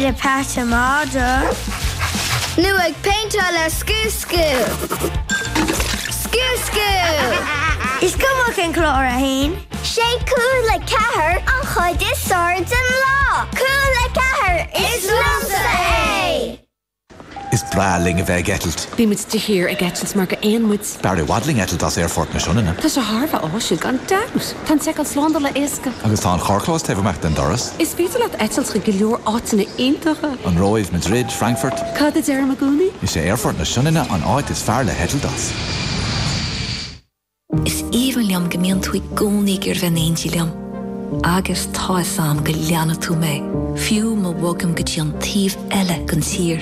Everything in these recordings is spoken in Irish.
le peata madra. Nó ag péinteáil le Scú Scú. Scú Scú! Is cuma cén clár a haon. Sé cúl a ceathair an chuid is fearr den lá! Cúl a ceathair, is liomsa é! Is breá linn a bheith ag eitilt. Bímid de shíor ag eitilt mar gur éin muid. B'fhearr i bhfad linn eitilt as Aerfort na Sionainne. Tá sé thar a bheith áisiúil, gan dabht! Tá an tseiceáil slándála éasca. Agus tá an carrchlós taobh amuigh den doras. Is féidir leat eitilt chuig go leor áiteanna iontacha. An Róimh, Madrid, Frankfurt. Cad a deirim i gcónaí? Is é Aerfort na Sionainne an áit is fearr le heitilt as. Is aoibhinn liom go mbíonn tú i gcónaí ag iarraidh bheith in éindí liom. Agus tá 'fhios a'm go leanfaidh tú mé, fiú má bhogaim go dtí an taobh eile den tír.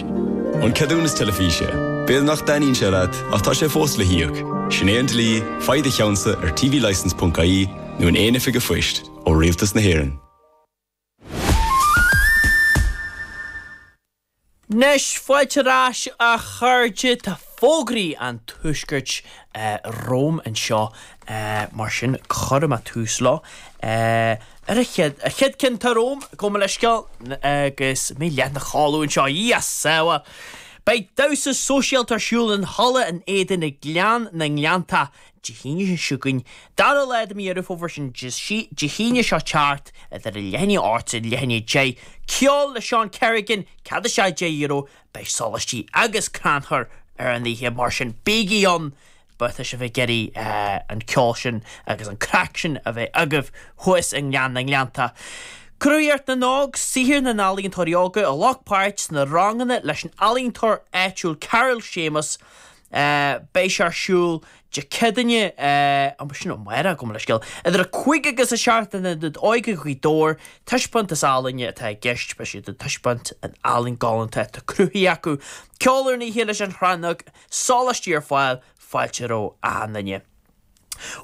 An ceadúnas teilifíse. B'fhéidir nach dtaitníonn sé leat, ach tá sé fós le híoc. Sin é an dlí, faigh do cheannsa ar tvlicence.ie nó in aon oifig an phoist, ó Rialtas na hÉireann. Anois, fáilte ar ais a chairde, tá fógraí an Tuaiscirt romham anseo, mar sin cuirfidh mé tús leo. Ar an chéad, an chéad ceann atá romham, gabh mo leithscéal, agus mé leath ina chodladh anseo, yes, bhuel, beidh damhsa sóisialta ar siúl in Halla an Éadain i nGleann na nGleanntach Dé hAoine seo chugainn, dara lá de mhí Dheireadh Fómhair, sin Dé hAoine seo teacht, idir a leath i ndiaidh a 8 is leath i ndiaidh a 10. Ceol le Seán Kerrigan, cead isteach €10, beidh sólaistí agus crannchur ar an oíche, mar sin bígí ann má tá sibh ag iarraidh an ceol sin agus an craic sin a bheith agaibh thuas i nGleann na nGleanntach. Cruthaitheacht na nÓg, saothar na n-ealaíontóirí óga a ghlac páirt sna ranganna leis an ealaíontóir áitiúil Carol Séamus, Beidh sé ar siúl Dé Céadaoine, sin amárach, gabh mo leithscéal, idir 5 agus 7 in Ionad Óige Ghaoth Dobhair. Taispeántas ealaíne atá i gceist, beidh siad ag taispeáint an ealaín galánta atá cruthaithe acu. Ceol ar an oíche leis an Chrannóg, sólaistí ar fáil, fáilte roimh achan duine.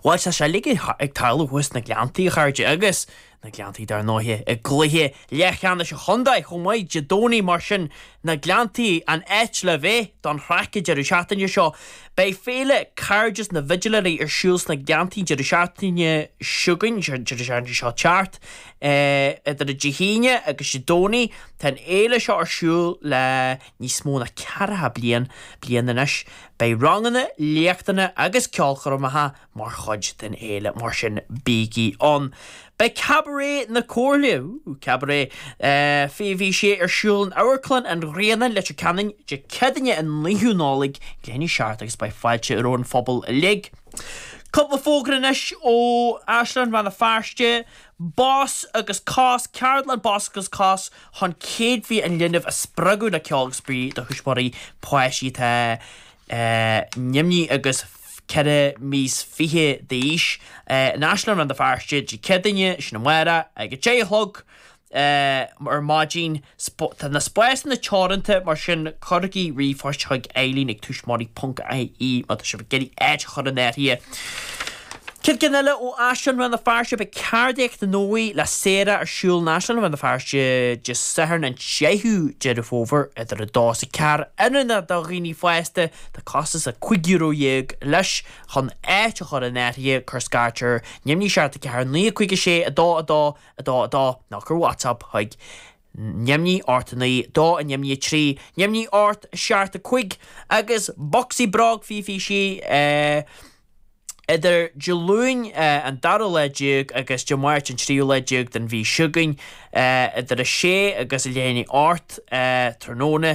Bhuel, tá sé uilig ag tarlú thuas sna Gleanntaí, a chairde, agus na Gleanntaí, dar ndóighe, i gcluiche leathcheannais an chontae chomh maith, Dé Domhnaigh, mar sin, na Gleanntaí, an áit le bheith don chraic an deireadh seachtaine seo. Beidh Féile Cairdeas na bhFidiléirí ar siúl sna Gleanntaí an deireadh seachtaine seo chugainn, an deireadh seachtaine seo teacht, idir Dé hAoine agus Dé Domhnaigh. Tá an fhéile seo ar siúl le níos mó ná ceathracha bliain, bliain anois. Beidh ranganna, léachtanna agus ceolchoirmeacha mar chuid den fhéile, mar sin bígí ann. Beidh Cabaret na Comhairle, ooh, Cabaret, 2026 ar siúl in Amharclann an Ghrianáin, Leitir Ceanainn, Dé Céadaoine an 9ú Nollaig, leath i ndiaidh a 7 agus beidh fáilte roimh an phobal uilig. Cúpla fógra anois ó Áislann Rann na Feirste, Bos agus Cos, Ceardlann Bos agus Cos chun céadfaí an linbh a spreagadh le ceol agus spraoi do thuismitheoirí páistí atá neamhní agus 4 mí is 20 d'aois. In Áislann Rann na Feirste, Dé Céadaoine, sin amárach, ag 10 a chlog ar maidin. Tá na spásanna teoranta, mar sin cuirigí ríomhphost chuig Eileen ag tuismitheoirí ponc ie má tá sibh ag iarraidh áit a chur in áirithe. Céad ceann eile ó Áislann Rann na Feirste, beidh Ceardaíocht na nÓg le Sarah ar siúl in Áislann Rann na Feirste Dé Sathairn an 10ú Deireadh Fómhair idir 2 is 4. Oiriúnach do dhaoine fásta, tá costas €15 leis. Chun áit a chur in áirithe, cuir scairt ar neamhní 7 4 9 5 6 2 2 2 2 nó cuir WhatsApp chuig neamhní 8 9 2 neamhní 3 neamhní 8 7 5 agus Bocsaí Bróg 20 26 Idir Dé Luain an dara lá déag agus Dé Máirt an tríú lá déag den mhí seo chugainn, idir a sé agus a leath i ndiaidh a 8 tráthnóna,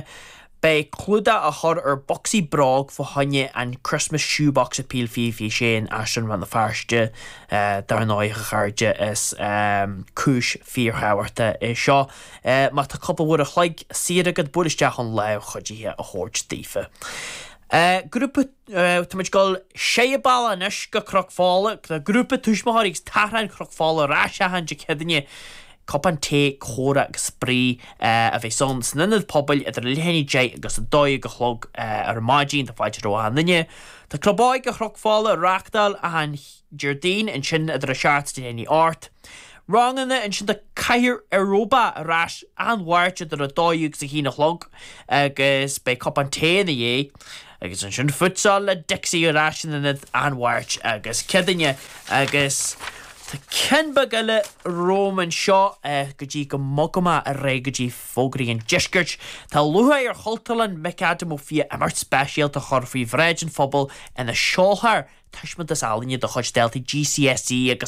beidh clúdach á chur ar bhocsaí bróg fá choinne an Christmas Shoebox Appeal 2026 in Áislann Rann na Feirste. Dar ndóigh, a chairde, is cúis fíorthábhachtach é seo. Má tá cúpla uair a chloig saor agat, buail isteach chun lámh chuidithe a thabhairt daofa. Grúpa. Tá muid ag dul sé bealach anois go Cnoc Fola. Tá grúpa tuismitheoirí agus tachráin Chnoc Fola ar ais achan Dé Céadaoine. Cupán tae, comhrá agus spraoi a bheas ann san ionad pobail idir leath i ndiaidh 10 agus 12 a chlog ar maidin. Tá fáilte roimh achan duine. Tá Club Óige Chnoc Fola á reáchtáil achan Déardaoin ansin idir 7 is leath i ndiaidh 8. Ranganna ansin tá Cathaoir Aeróbach ar ais achan Mháirt idir 12 agus 1 a chlog agus beidh cupán tae ina dhiaidh. Agus ansin futsal le Dixie ar ais in ionad achan Mháirt agus Céadaoine agus. Tá ceann beag eile romham anseo go dtí go mbogfaidh mé ar aghaidh go dtí fógraí an deiscirt. Tá lúcháir ar Chultúrlann McAdam Ó Fiaich imeacht speisialta a chur faoi bhráid an phobail ina seolfar taispeántas ealaíne de chuid daltaí GCSE agus.